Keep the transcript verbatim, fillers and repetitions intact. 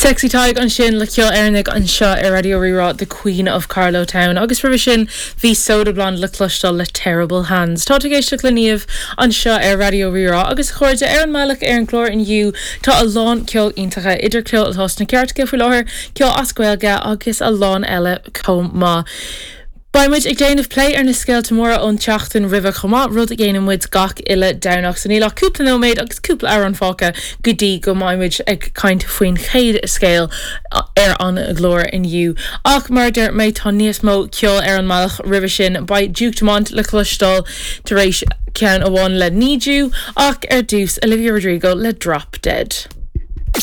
Sexy Tadhg ansin le ceol Éireannach anseo ar Raidió Rí-Rá the Queen of Carlow Town agus roimhe sin bhí Soda Blonde le cloisteáil le Terrible Hands. Tá ag éisteacht le Niamh anseo ar Raidió Rí-Rá agus a chairde ar an mbealach ar an gclár inniu tá a lán ceol iontach idir ceol atá sna cairteacha faoi láthair ceol as Gaeilge agus a lán eile chomh maith. Beidh muid ag déanamh plé ar na scéalta móra ón tseachtain roimhe chomh maith rud a dhéanann muid gach uile Domhnach so níl ach cúpla nóiméad agus cúpla amhrán fágtha go dtí go mbeidh muid ag caint faoin chéad scéal ar an gclár inniu. Ach mar deir mé tá níos mó ceol ar an mbealach roimhe sin beidh Duke Dumont le cloisteáil tar éis ceann amháin le Need You ach ar dtús Olivia Rodrigo le Drop Dead.